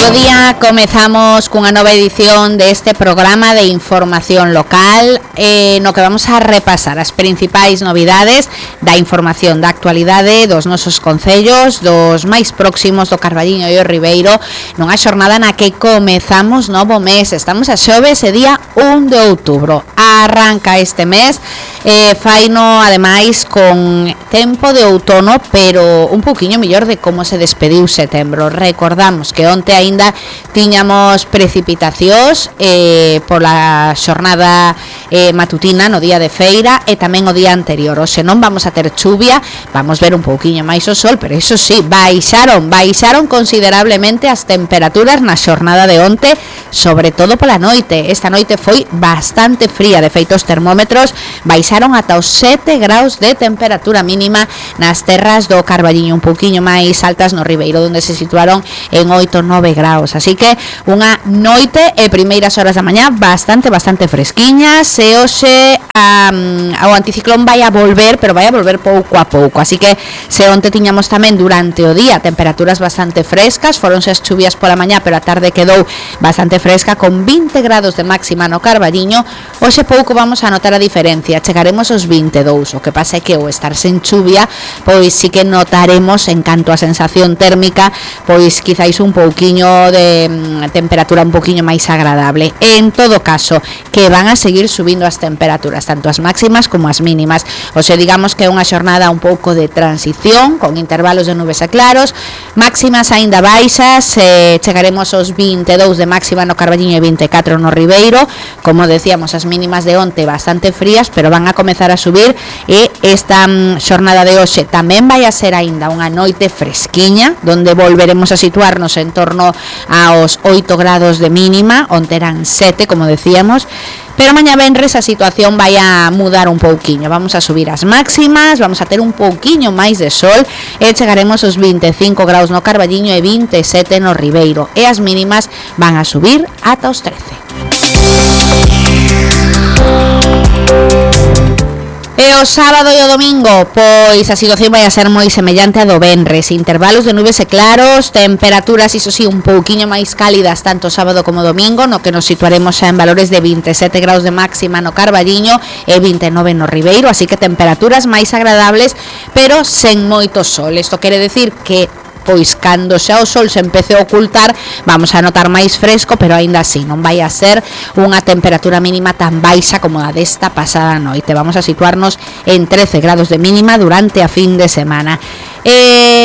mediodía comezamos cunha nova edición deste programa de información local no que vamos a repasar as principais novidades da información da actualidade dos nosos concellos, dos máis próximos do Carballiño e o Ribeiro, nunha xornada na que comezamos novo mes. Estamos a xoves e día 1 de outubro. Arranca este mes, faino ademais con tempo de outono, pero un pouquiño mellor de como se despediu setembro. Recordamos que onte aínda tiñamos precipitacións pola xornada matutina no día de feira e tamén o día anterior. Hoxe non vamos a ter chuvia, vamos ver un pouquiño máis o sol, pero iso sí, baixaron considerablemente as temperaturas na xornada de onte, sobre todo pola noite. Esta noite foi bastante fría, de feito os termómetros baixaron ata os 7 graus de temperatura mínima nas terras do Carballiño, un pouquiño máis altas no Ribeiro, onde se situaron en 8-9 graus. Así que unha noite e primeiras horas da mañá bastante fresquiñas. E hoxe o anticiclón vai a volver, pero vai a volver pouco a pouco. Así que se onte tiñamos tamén durante o día temperaturas bastante frescas, foronse as chuvias pola mañá, pero a tarde quedou bastante fresca con 20 grados de máxima no Carballiño. Hoxe pouco vamos a notar a diferencia, chegaremos aos 22. O que pasa é que o estar sen chuvia, pois sí que notaremos en canto a sensación térmica, pois quizáis un pouquiño de temperatura un pouquiño máis agradable. En todo caso, que van a seguir subindo as temperaturas, tanto as máximas como as mínimas. Hoxe digamos que é unha xornada un pouco de transición, con intervalos de nubes e claros, máximas aínda baixas, chegaremos aos 22 de máxima no Carballiño e 24 no Ribeiro. Como decíamos, as mínimas de onte bastante frías, pero van a comezar a subir, e esta xornada de hoxe tamén vai a ser aínda unha noite fresquiña, donde volveremos a situarnos en torno aos 8 grados de mínima, onde eran 7, como decíamos. Pero mañá venres a situación vai a mudar un pouquiño, vamos a subir as máximas, vamos a ter un pouquiño máis de sol e chegaremos aos 25 graus no Carballiño e 27 no Ribeiro, e as mínimas van a subir ata os 13. E o sábado e o domingo, pois a situación vai a ser moi semellante a do venres, intervalos de nubes e claros, temperaturas, iso sí, un pouquiño máis cálidas tanto sábado como domingo, no que nos situaremos xa en valores de 27 graus de máxima no Carballiño e 29 no Ribeiro, así que temperaturas máis agradables, pero sen moito sol. Isto quere decir que pois cando xa o sol se empece a ocultar vamos a notar máis fresco, pero aínda así non vai a ser unha temperatura mínima tan baixa como a desta pasada noite. Vamos a situarnos en 13 grados de mínima durante a fin de semana.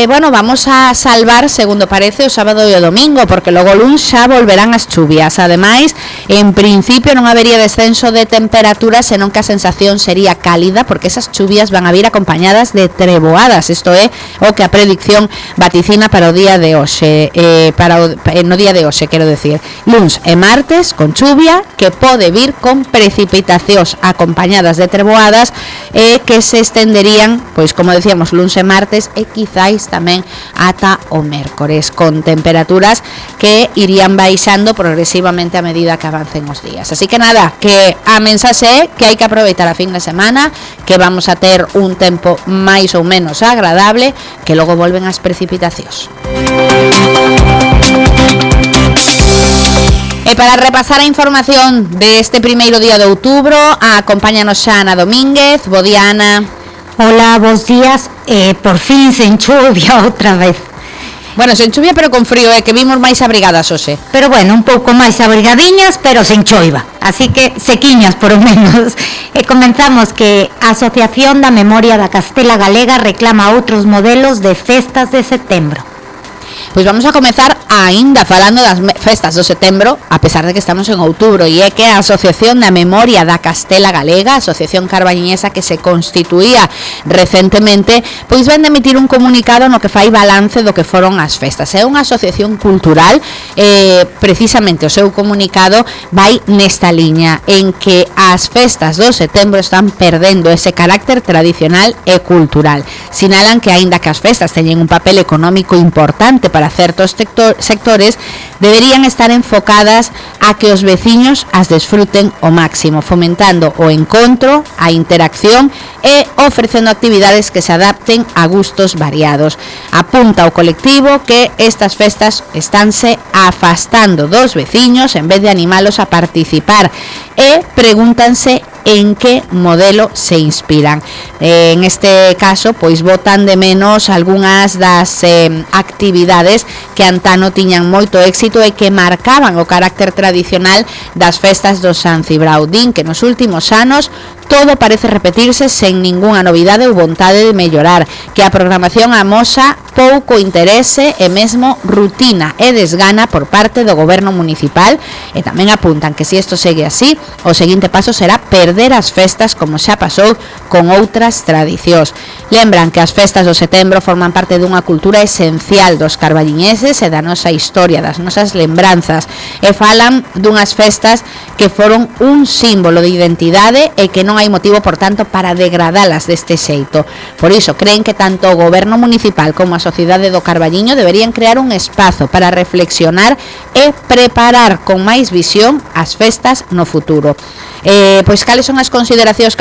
Bueno, vamos a salvar, segundo parece, o sábado e o domingo, porque logo luns xa volverán as chuvias. Ademais, en principio non habería descenso de temperatura, senón que a sensación sería cálida, porque esas chuvias van a vir acompañadas de treboadas. Isto é o que a predicción vaticina para o día de hoxe, no día de hoxe, quero decir, luns e martes con chuvia, que pode vir con precipitacións acompañadas de treboadas, que se estenderían, pois como decíamos, luns e martes, e quizáis tamén ata o mércores, con temperaturas que irían baixando progresivamente a medida que avancen os días. Así que nada, que a mensaxe é que hai que aproveitar a fin de semana, que vamos a ter un tempo máis ou menos agradable, que logo volven as precipitacións. E para repasar a información deste primeiro día de outubro, acompáñanos xa Ana Domínguez. Bo día, Ana. Hola, bons días. Por fin sen chuvia outra vez. Bueno, sen chuvia pero con frío, que vimos máis abrigadas hoxe. Pero bueno, un pouco máis abrigadiñas, pero sen choiva. Así que sequiñas, por o menos. Comenzamos que a Asociación da Memoria da Castela Galega reclama outros modelos de festas de setembro. Pois vamos a comezar aínda falando das festas do setembro, a pesar de que estamos en outubro, e é que a Asociación da Memoria da Castela Galega, a asociación carballiñesa que se constituía recentemente, pois ven de emitir un comunicado no que fai balance do que foron as festas. É unha asociación cultural, precisamente o seu comunicado vai nesta liña, en que as festas do setembro están perdendo ese carácter tradicional e cultural. Sinalan que aínda que as festas teñen un papel económico importante para certos sectores deberían estar enfocadas a que os veciños as desfruten ao máximo, fomentando o encontro, a interacción e ofrecendo actividades que se adapten a gustos variados. Apunta o colectivo que estas festas estánse afastando dos veciños en vez de animalos a participar e pregúntanse en que modelo se inspiran. En este caso, pois botan de menos algunhas das actividades que antano tiñan moito éxito e que marcaban o carácter tradicional das festas do San Cibrao. Din que nos últimos anos todo parece repetirse sen ningunha novidade ou vontade de mellorar, que a programación amosa pouco interese e mesmo rutina e desgana por parte do goberno municipal, e tamén apuntan que se isto segue así, o seguinte paso será perder as festas como xa pasou con outras tradicións. Lembran que as festas do setembro forman parte dunha cultura esencial dos carballiñeses e da nosa historia, das nosas lembranzas, e falan dunhas festas que foron un símbolo de identidade e que non hai motivo, por tanto, para degradalas deste xeito. Por iso, creen que tanto o goberno municipal como a sociedade do Carballiño deberían crear un espazo para reflexionar e preparar con máis visión as festas no futuro. Pois cales son as consideracións que